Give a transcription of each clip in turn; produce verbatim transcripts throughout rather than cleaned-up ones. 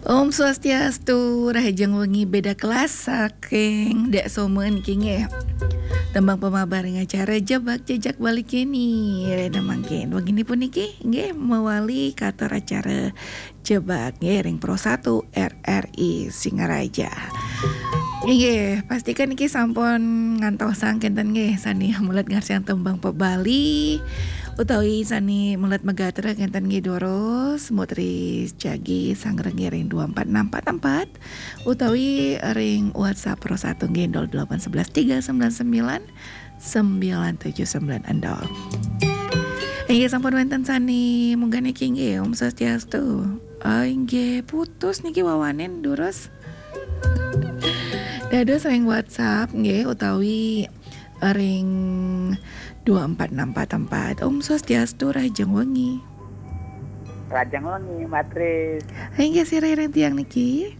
Om Swastiastu, rahajeng wengi beda kelas saking Dak Somen niki nggih. Tembang pemabar ring acara Jebak Jejak Bali kini. Rena mangkin wengi puniki nggih mawali katur acara Jebak nggih ring Pro satu R R I Singaraja. Inggih, pastikan niki sampun ngantosang kenten nggih sane melet ngarsiang tembang pebali utawi sane melet magatra kenten nggih durus, Mbok Tri jagi sangreng ring dua empat enam empat empat utawi ring WhatsApp Pro satu nggih nol delapan sebelas tiga sembilan sembilan sembilan tujuh sembilan nol. Inggih sampun wenten sane munggah niki nggih, Om Swastiastu. Ah, inggih putus niki wawanen durus. Dados ring WhatsApp nggih utawi ring dua empat enam empat empat. Om Swastiastu, rahajeng wengi. Rahajeng wengi, Mbak Tris. Inggih sira ring tiang niki.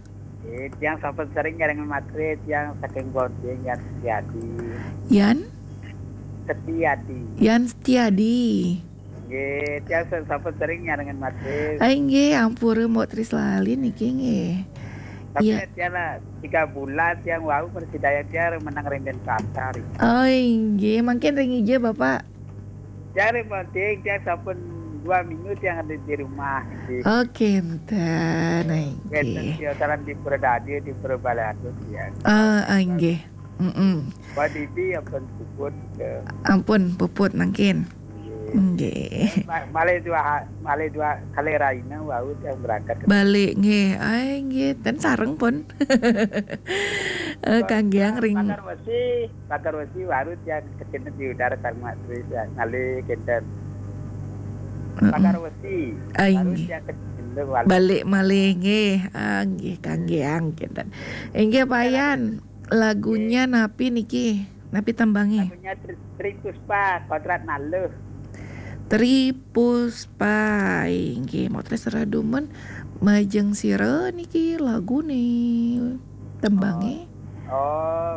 Eh, tiang sampun sering nyarengan Mbak Tris, tiang saking Bonding, Yan Setiadi. Yan? Setiadi. Yan Setiadi. Nggih, tiang sa-, sampun sering nyarengan Mbak Tris. Ah, inggih, ampura Mbok Tris lali niki nggih. Tapi iya, tiang lah tiga bulan tiang wau persidaya tiang menang ring Denpasar. Oh, inggih, mangkin ring ija, Bapak? Tiang ring Bonding, tiang sampun dua minggu tiang ada di rumah nggih. Oke, enten. Nah, wenten inggih. Tiang salam di Pura Dadi, di Pura Balado tiang. Ah, ah, inggih. Mm-mm. Mbak Didi ampun puput ke. Ampun puput mangkin. Nggih. Nggih. Ma-, malih dua ha-, malih dua kali raina wau tiang berangkat. Balik nggih. Ai nggih, ten sareng pun. Eh, kangge ring Pagar Wesi, Pagar Wesi baru tiang kecil di udara Karma Tri tiang malih kenten. Heeh. Pagar Wesi, ai baru nggih. Tiang kecil balik. Balik malih nggih. Ah, nggih, kangge ang kenten. Inggih, Pak Yan. Lagunya napi niki? Napi tembange? Lagunya Tri, Tri Puspa, Kodrat Naluh. Tri Puspa. Inggih, Mbok Tris redumen majeng sira niki lagune. Tembange? Oh. Oh.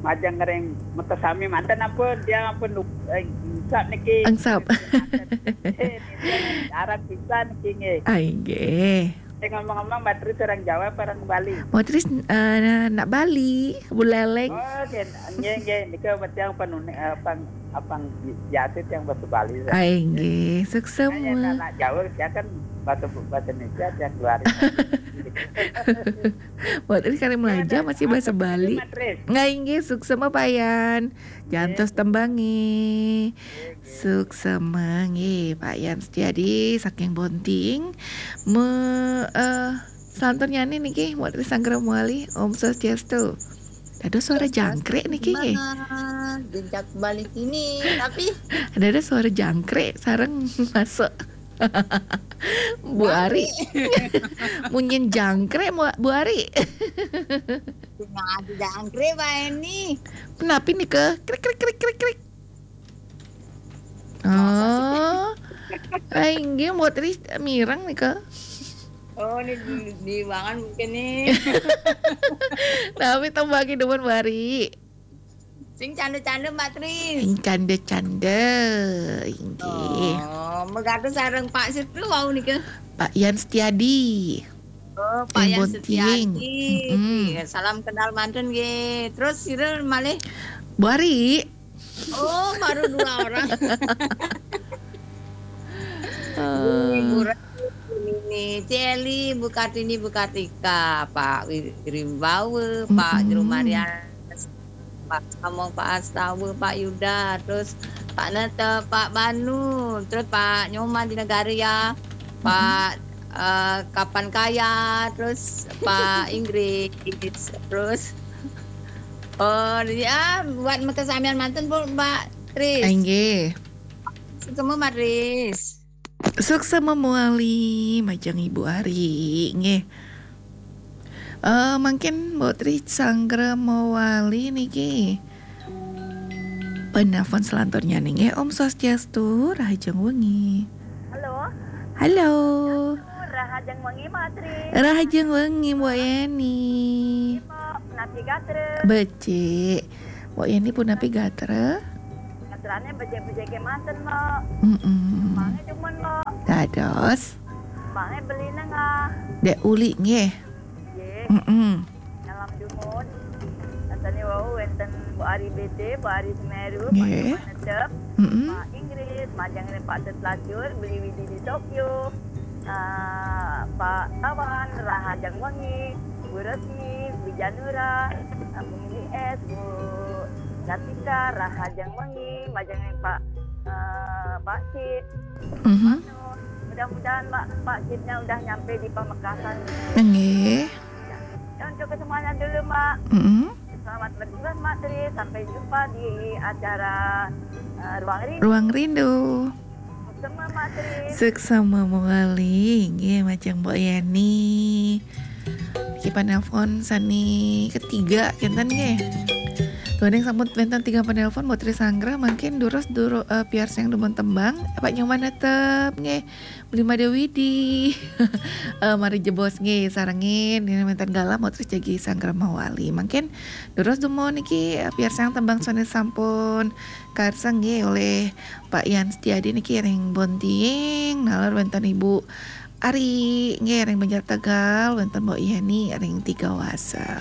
Majeng ring mekasami manten ampun, tiang ampun lup-, eh, engsap niki. Engsap. Manten. Eh, niki arang pisan niki nggih. Ah, inggih. Eh, ngomong-ngomong, Mbak Tris orang Jawa apa orang Bali? Mbok Tris, eh, nak Bali, Buleleng. Oh, nggih, nggih, nggih. Nika tiang penuni-, eh, pang-, apang bi-, biasa tiang bahasa Bali, saya. Ai, nggih, suksma. Nah, ya, nak, nak Jawa, saya kan bahasa, bahasa Indonesia tiang keluarin. Mbok Tris kali Melaja masih bahasa Bali. Mbak Tris. Nggih, nggih, suksma Pak Yan. Jantos tembange. Suksma nggih, Pak Yan Setiadi saking Bonting. Me-, eh, selanturnya niki, Mbok Tris Sanggra Muali, Om Swastiastu. Ada suara jangkrik niki nggih. Jejak Bali kini, tapi ada suara jangkrik sareng masuk. Bu Ari. Munyin jangkrik, Bu, Bu Ari. Sing adi jangkrik, Pak Eni. Napi nika? Krik, krik, krik, krik, krik. Oh. Ah, inggih, Mbok Tris mireng nika. Oh, ini di, di ruangan mungkin nih. Tapi tembange demen, Bu Ari. Sing canda-canda, Mbak Tris. Sing canda-canda, inggih. Oh, megaduh sareng Pak Sitru wau nika. Pak Yan Setiadi. Oh, Pak Yan Setiadi. Mm-mm. Iya, salam kenal mantun nggih. Terus sira malih? Bu Ari. Oh, baru dua orang. Eh. Ini Bu Ra-, ini Celi, Bu Kartini, Bu Kartika, Pak Wi-, Rimbawa, Pak Jero Mariana, Pak Samo, Pak Astawa, Pak Yuda, terus Pak Nata, Pak Banu, terus Pak Nyoman di Negara ya, Pak, eh, Kapan Kaya, terus Pak Inggris, terus, oh, ya, buat makasamian mantun, Bu, Mbak Tris. Inggih. Suksma, Mbak Tris. Suksma mawali majeng Ibu Ari, nggih. Eh, mangkin Mbok Tri Sanggra mawali niki. Penelpon selanturnya nggih. Om Swastiastu, rahajeng wengi. Halo. Halo. Rahajeng wengi, Mbok Tri. Rahajeng wengi, Mbok Yeni. Mbok, punapi gatra? Becik. Mbok Yeni punapi gatra? Gatrane becik-becik kemanten, Mbok. Mm-mm. Tembange demen, Mbok. Dados. Mak nggih, beli nengah. Dek Uli nggih. Nggih. Mm-mm. Salam dumun. Rasane wau wenten Bu Ari B T, Bu Ari Semeru, Nggih. Pak Netep, Mm-mm. Pak Inggris, majeng ring Pak Setlajur, beli Widi di Tokyo. Ah, Pak Tawan, rahajeng wengi, Bu Resmi, Bu Janura, ah, Bu Mili S, Bu Latika, rahajeng wengi, majeng ring Pak, eh, Pak Cip. Mhm. Mudah-mudahan Mak, Pak Cipnya udah nyampe di Pamekasan. Nggih. Ya, untuk kesemuanya dulu, Mak. Mm-mm. Selamat berjuang, Mak Tri. Sampai jumpa di acara, eh, Ruang Rindu. Ruang Rindu. Semua, Mak Tri. Suksma mawali nggih, majeng Mbok Yani. Iki panelpon sane ketiga kinten nggih. Duaning sampun wenten tiga panelpon, Mbok Tri Sanggra, mangkin durus duru, eh, piarsayang dumun tembang, Pak Nyoman Netep nggih. Beli Made Widi. Eh, mari jebos nggih, sarengin, ini wenten galah, Mbok Tri jagi Sanggra mawali. Mangkin durus dumun iki, eh, piarsayang tembang sane sampun karsa nggih oleh Pak Yan Setiadi niki ring Bontiing, nalar wenten Ibu Ari nggih ring Banjar Tegal, wenten Mbok Yani ring Tiga Wasa.